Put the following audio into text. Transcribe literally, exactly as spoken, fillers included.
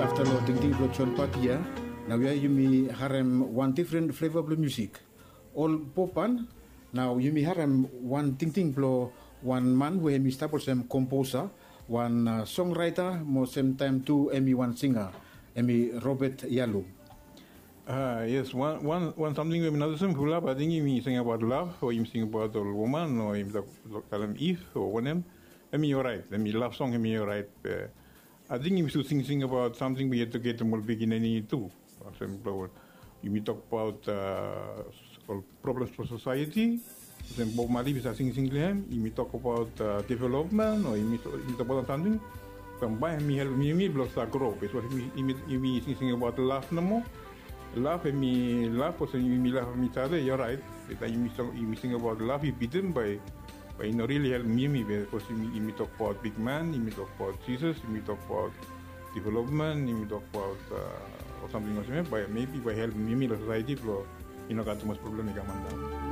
Afta long tingting blong John Patia, nau ya yumi harem wan difren fleva blong musik. Ol popan, nau yumi harem wan tingting blong wan man we hemi stap olsem komposa, wan songwriter mo semtaem tu hemi wan singa, hemi Robert Yalu. Yes, wan samting we mi notisim fulap, ating yumi singabaot lav o yumi singabaot ol woman o yumi talem if o wanem, hemi oraet, hemi lav song hemi oraet. Be ating yumi su singsing abaot samting we yu etuketem ol pikinini tu. Olsem blong yumi tokbaot ol problems blong sosaeti, olsem Bob Marley yu sa singsing long hem, yumi tokbaot developmen o yumi tokbaot wan samting, bae hemi helpem yumi blong sa gro. Bikos yumi singsing abaot lav nomo. Lav hemi lav olsem yumi lavem each other, i oraet. Be taem yumi sing abaot lav i bitim, bae i no rili helpem yumi. Bikos yumi tokbaot bigman, yumi tokbaot Jisas, yumi tokbaot developmen, yumi tokbaot ol samting olsem ya, bae mebi bae i helpem yumi long sosaeti blong i no gat tumas problem i kam antap.